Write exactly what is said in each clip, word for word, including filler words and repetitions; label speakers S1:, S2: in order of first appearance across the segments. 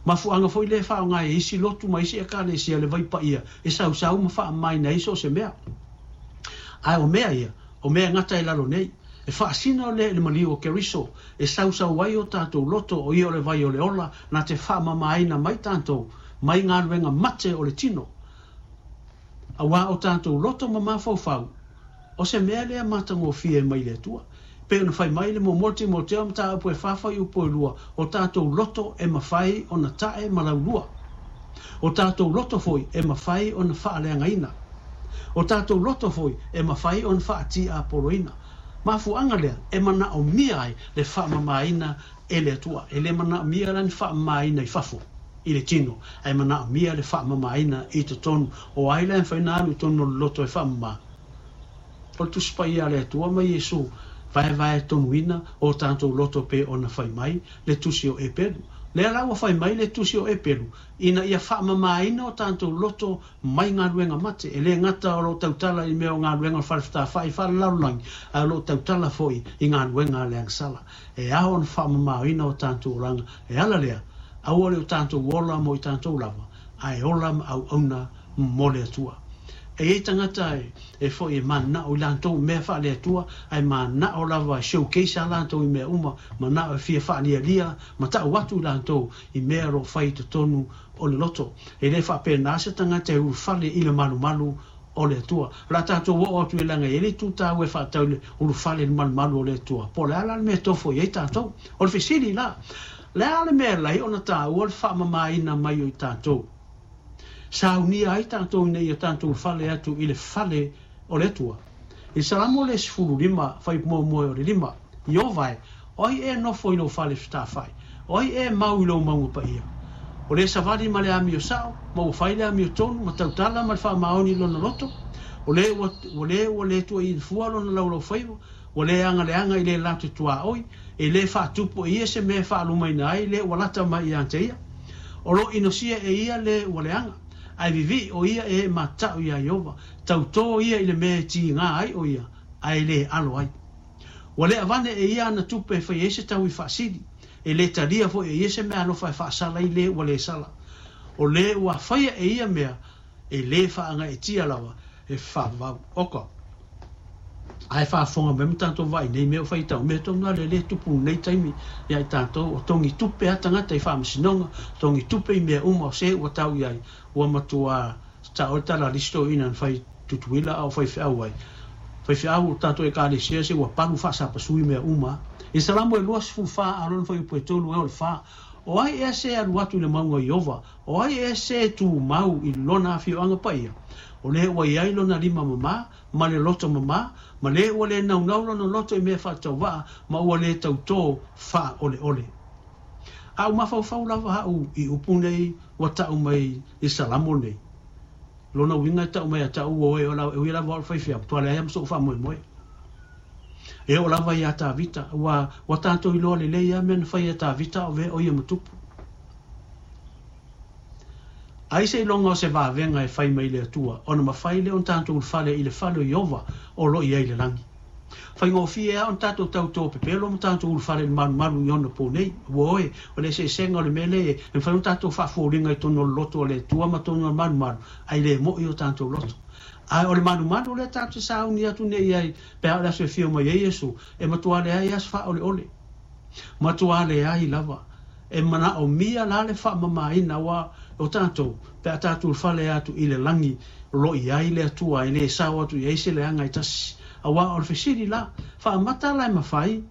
S1: Mafuaaga foi lea e faaaoga ai e isi lotu ma isi ekalesia le vai paia e sausau ma faamamaina ai so o se mea. Ae o mea ia, o mea e gata i lalo nei. E faasino lea i le maliu o Keriso e sausau ai o tatou loto, o ia o le vai o le ola na te faamamaina mai tatou mai galuega mate o le tino. Auā o tatou loto ma mafaufau, o se mea lea matagofie mai le Atua. E pei ona fai mai le Muamua o Timoteo mataupu e fa fuaiupu e lua, o tatou loto e mafai ona ta'e ma laulua. O tatou loto foi e mafai ona faaleagaina. O tatou loto foi e mafai ona faatiapoloina. Mafuaaga lea e manaomia ai le faamamaina e le Atua. E le manaomia la ni faamamaina i fafo i le tino, ae manaomia le faamamaina i totonu. O ai la e mafai ona alu i totonu o le loto e faamama? O le Tusi Paia a le Atua ma Iesu vaevaetonuina o tatou loto pei ona fai mai le Tusi o Eperu. Lea la ua fai mai le Tusi o Eperu ina ia faamamaina o tatou loto mai galuega mate. E le gata o lo o tautala i mea o galuega o le falefetafai faalelalolagi, ae o lo o tautala foi i galuega a le agasala. E ao ona faamamaina o tatou olaga. E ala lea, aua le o tatou ola mo i tatou lava, ae ola ma auauna mo le Atua. E i ai tagata e foi e mananao i latou mea faale-Atua, ae mananao lava e showcase a latou i mea uma, mananao e fia faalialia ma tau atu i latou i mea o lo o fai i totonu o le loto. E le faapena se tagata e ulufale i le malumalu o le Atua. O le a tatou oo atu i leaga e i ai le itu taua e faatatau i le ulufale i le malumalu o le Atua. Po o le a la le mea e tofo i ai tatou? O le fesili la, le a le mea e ala ai ona taua le faamamaina mai o i tatou? Saunia ai tatou ina ia tatou ulufale atu i le fale o le Atua. I le Salamo le sefulu lima, fuaiupu muamua o le lima, Ieova e, o ai ea e nofo i lou fale fetafai? O ai ea e mau i lou mauga paia? O le savali ma le amio sao, ma ua fai le amiotonu, ma tautala ma le faamaoni i lona loto? O le ua, ua le ua le tuuaiina fua lona laulaufaiva, ua le agaleaga i le latou tuaoi, e le faatupu e ia se mea e faalumaina ai le ua lata mai ia te ia. O lo o inosia e ia le ua leaga, ae vivii o ia e mata'u iā Ieova, tautō ia i le mea e tigā ai o ia, ae le alo ai. Ua le avane e ia ana tupe e fai ai se taui faasili, e le talia foi e ia se meaalofa e faasala ai le ua le sala. O le ua faia e ia mea, e le faagaeetia lava, e faavavau. Oka. Ae faafofoga mai ma tatou vaai nei mea o faitau mea tonu lava le tupu i lenei taimi ia i tatou o togi tupe a tagata i faamasinoga, togi tupe i mea uma o se ua tau i ai, ua matua tao le tala a le isi toeaina na fai Tutuila a o faifeau ai. Faifeau o tatou ekalesia se ua palu faasapasui mea uma. I Salamo e luasefulu fa a lona fuaiupu e tolu e o le fa, O ai ea se alu atu i le mauga o Ieova? O ai ea se tumau i lona afioaga paia? O le ua i ai lona lima mamā, ma le loto mamā, ma le ua le naunau lona loto i mea faatauvaa, ma ua le tautō faaoleole. A u mafaufau lava haʻu i upu nei ua taʻu mai i Salamo nei. Lona uiga e taʻu mai ia te au ua oe e ui lava o le faifeau, matua leai lava ma soʻu faamoemoe. E oo lava iā Tavita, ua, ua tatou iloa lelei lava mea na fai e Tavita a o vea o ia ma tupu. Ai seiloga o se vavega e fai mai le Atua, ona mafai lea ona tatou ulufale i le fale o Ieova o lo o i ai i le lagi. Faigofie lava ona tatou tautō pepelo ma tatou ulufale i le malumalu i ona po nei. Ua oe, o le eseesega o le mea lea e mafai ona tatou faafoliga i totonu o le loto o le Atua ma totonu o le malumalu, ae le moʻi o tatou loto. Ae o le malumalu lea tatou te sauni atu nei i ai pe a o le aso e afio mai ai Iesu, e matua leai lava se faaoleole. Matua leai lava. E manaomia la le faamamaina aua o tatou, pe a tatou ulufale atu i le lagi o lo o i ai le Atua e le sao atu i ai se leaga e tasi. Aua o le fesili la, faamata la e mafai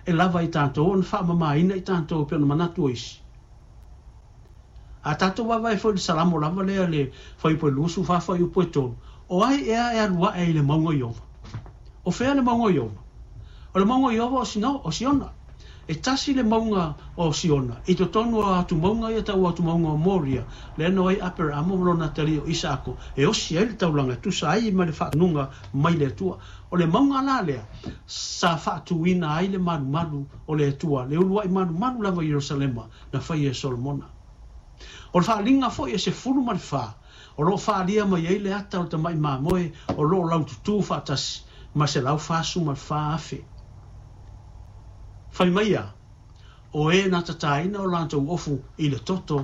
S1: e lava i tatou ona faamamaina i tatou pei ona manatu o isi? A tatou vaavaai foi i le Salamo lava lea le fuaiupu e luasefulu fa fuaiupu e tolu, o ai ea e alu aʻe i le mauga o Ieova? O fea le mauga o Ieova? O le mauga o Ieova o Sino, o Siona. E tasi le mauga o Siona i totonu o atumauga ia tau atumauga o Moria, lea na o ai Aperaamo ma lona atalii o Isaako e osi ai le taulaga e tusa ai ma le faatonuga mai le Atua. O le mauga la lea sa faatuina ai le malumalu o le Atua, le uluai malumalu lava i Ierusalema na faia e Solomona. O le faaaliga foi e sefulu ma le fa o lo o faaalia mai ai le ata o le tamai mamoe o lo o laututū faatasi ma selau fasu ma le fa afe. Fai mai ia, o e na tataina o latou ofu i le toto